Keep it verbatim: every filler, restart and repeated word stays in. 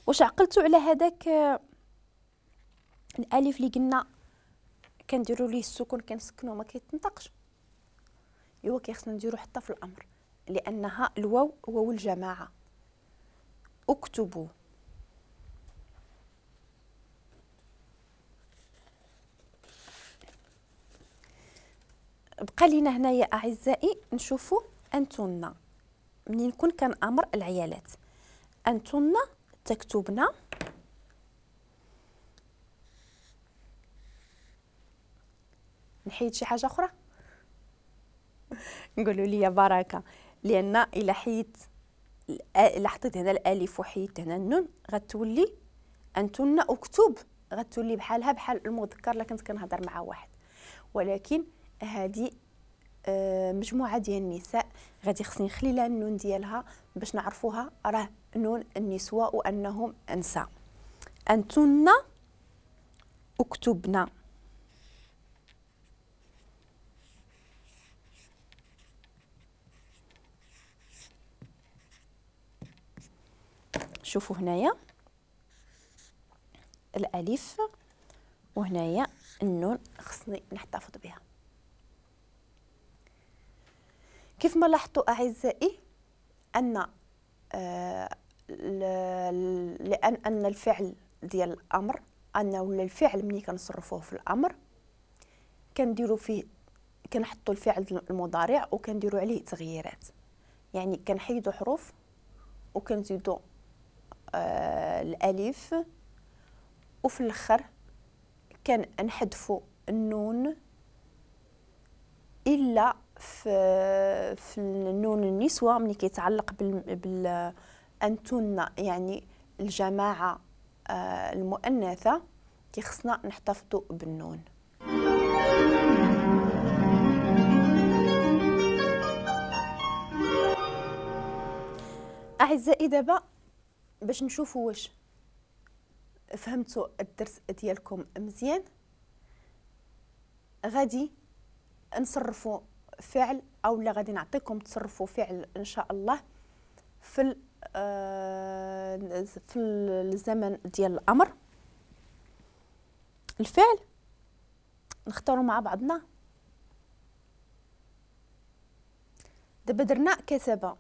واش عقلتوا على هذاك الالف اللي قلنا كنديروا ليه السكون كنسكنو ما كيتنطقش؟ ايوا كيخصنا نديرو حتى في الامر، لانها الواو واو الجماعة. اكتبوا. بقى لينا هنايا اعزائي نشوفوا انتن منين نكون كنامر العيالات. انتن تكتبنا، نحيد شي حاجة اخرى نقولوا لي بركة، لان الا حيدت الا حطيت هنا الالف وحيدت هنا النون غتولي انتن اكتب، غتولي بحالها بحال المذكر الا كنت كنهضر مع واحد. ولكن هذه مجموعة ديال النساء غادي خصني نخلي لها النون ديالها باش نعرفوها راه نون النسوة وانهم نساء. انتن اكتبنا. شوفوا هنايا الالف وهنايا النون خصني نحتفظ بها. كيف ما لاحظتوا اعزائي ان آه لان ان الفعل ديال الامر ان ولا الفعل ملي كنصرفوه في الامر كنديروا فيه كنحطوا الفعل المضارع وكنديروا عليه تغييرات، يعني كنحيدوا حروف وكنزيدوا آه الالف، وفي الاخر كنحذفوا النون الا في في النون النسوة ملي كيتعلق بال, بال انتن يعني الجماعة آه المؤنثة كيخصنا نحتفظوا بالنون. اعزائي دابا باش نشوفوا واش فهمتوا الدرس ديالكم مزيان غادي نصرفوا فعل او لا غادي نعطيكم تصرفوا فعل ان شاء الله في في الزمن ديال الامر. الفعل نختاروا مع بعضنا. دابا درنا كتب،